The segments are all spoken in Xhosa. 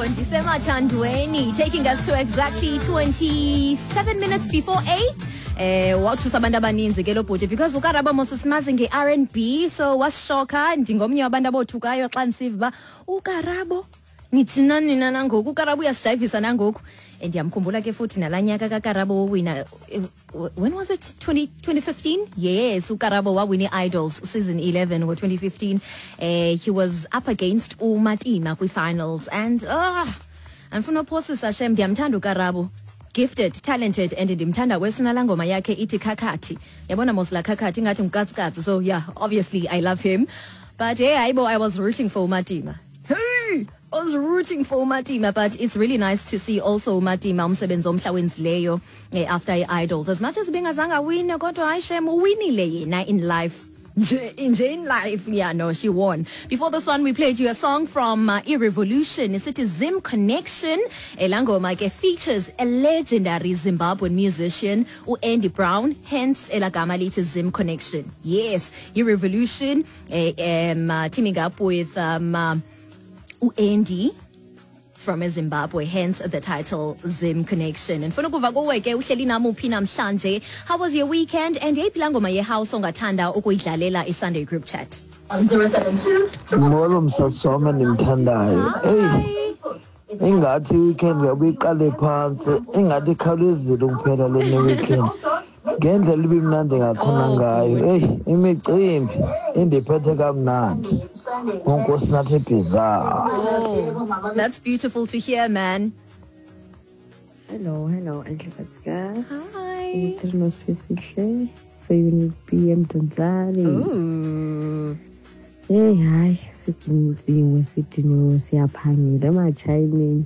Ndisemathandweni, taking us to exactly 27 minutes before 8. Wathusa abantu abaninzi ke lo bhuti because uKarabo mos simazi nge-R&B, so wasishoka. Ndingomnye wabantu abothukayo xa ndisiva uba uKarabo, nithi nani na nangoku uKarabo uyasijayivisa nangoku. And ndiyamkhumbula ke futhi nalaa nyaka kaKarabo wowina, when was it, 20, 2015? Yes, uKarabo wawina i-Idols season 11 ngo-2015. He was up against uMatima kwi-finals and andifuna uphosisa shem, ndiyamthanda uKarabo. Gifted, talented, and ndimthanda wesuna laa ngoma yakhe ithi "Khakhathi". Yabona mos laa "Khakhathi" ingathi ngukatsikatsi, so yeah, obviously I love him, but hey, hayibo, I was rooting for uMatima. Hey, I was rooting for uMatima, but it's really nice to see also uMatima, umsebenzi omhla wenzileyo after i-Idols. As much as bengazange awine, kodwa hayi shem, uwinile yena in life. Nje, nje in life, yeah, no, she won. Before this one, we played you a song from Irrevolution. Isithi "Zim Connection". Elangoma ke features a legendary Zimbabwean musician, Andy Brown, hence elagama lithi "Zim Connection". Yes, Irrevolution, teaming up with Andy from eZimbabwe, hence the title "Zim Connection". Ndifuna ukuva kuwe ke, uhleli nam uphi namhlanje? How was your weekend? And yeyiphi laa ngoma yehouse ongathanda ukuyidlalela i-Sunday group chat? On 072 Molo msasi wam endimthandayo. Eyi, ingathi i-weekend yabe iqale phantsi, ingathi ikhawulezile ukuphela lena weekend. Ngendlela ibimnandi ngakhona Oh, ngayo. good. Eyi, imicimbi indiphethe kamnandi. UNkosinathi Bhiza. Oh, that's beautiful to hear, man. Hello, hello, Enhle Katsika. Hi. Uthirino Sihle. Se-Unit B eMdantsane. Ooh. Hey, hayi, sidiniwe, sidiniwe, siyaphangela emachayineni.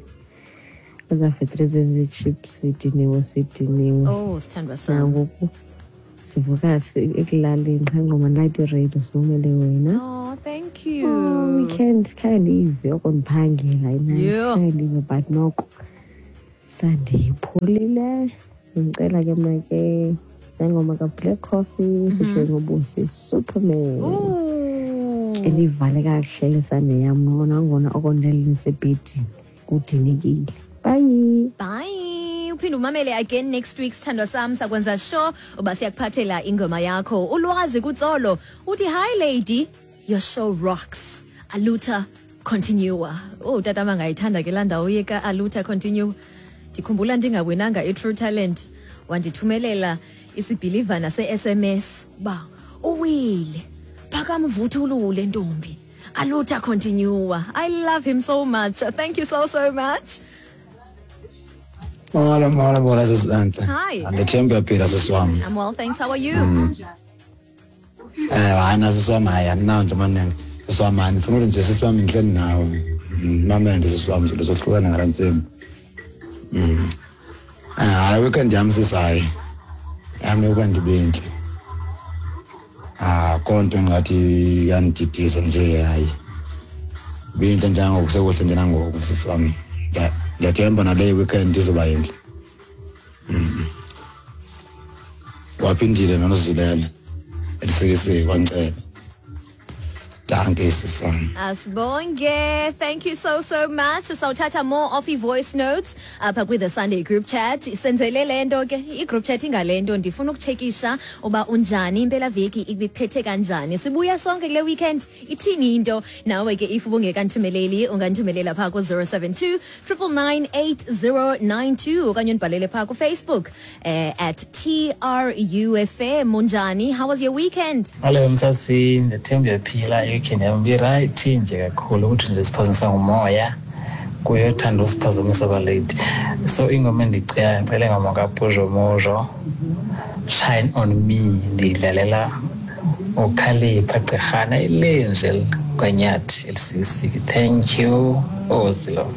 Ezafetri zezi-chips, sidiniwe, sidiniwe. Oh, sithandwa sam. Nangoku sivuka ekulaleni qha ngoma light radio simamele wena. Oh, thank you. Oh, weekend khange ndiyive oko ndiphangela i-night, khange ndiyive, but noko Sunday ipholile. Ndicela ke mna ke nengoma kaBlack Coffee featuring uBusi, "Superman". Ooh. Elivale kakuhle le Sunday yam nangona oko ndalisebhedini kudinekile. Bye. Bye. Uphinde umamele again next week, sithandwa sam, sakwenza sure uba siyakuphathela ingoma yakho. Ulwazi kuTsolo uthi, "Hi lady, your show rocks. Aluta continua." Oh, tata bangayithanda ke laa ndawo yeka aluta continue. Ndikhumbula ndingawinanga i-True Talent, wandithumelela isibhilivana se-SMS uba uwile, phakama uvuthulule ntombi, aluta continua. I love him so much. Thank you so so much. Molo, molo, molo, sisante. Hi. Andithemba uyaphila, sisi wam. I'm well, thanks. How are you? Hayi na, sisi wam, hayi andinawo nje amaningi. Sisi wam, hayi ndifuna ukuthi nje, sisi wam, ndihleli nawe. Mamela nje, sisi wam, nje sohlukana ngala ntsimbi. Hayi, weekend yam, sisi, hayi. Yam weekend ibintle. Ah, konto engathi yandididisa nje, hayi. Bintle njengoku, sekuhle nje nangoku, sisi wam. Ndiyathemba nale weekend izoba yintle. Waphindile noNozilela. Elisikisiki kwaNceba. Dankie, sisi wam. Asibonge. Thank you so so much. Sawuthatha more of i-voice notes apha kwi-The Sunday group chat. Senzele le nto ke, i-group chat ingale nto, ndifuna ukutshekisha uba unjani, impelaveki ikuphethe kanjani. Sibuya sonke kule weekend, ithini into nawe ke? If ubungekandithumeleli, ungandithumelela phaa ku-072 999 8092 okanye undibhalele phaa kuFacebook @TRUFM. Unjani? How was your weekend? Hello msasi, ndithemba uyaphila. I-weekend yam ibirayithi nje kakhulu, ukuthi nje siphazamisa ngumoya kuyothanda usiphazamisa abalady. So ingoma endicela, ndicela ingoma kaPuzo Mojo, "Shine on Me". Ndiyidlalela uKhalipha Gqirhana ilenje kwanyathi elisisiki. Thank you, Ozilo.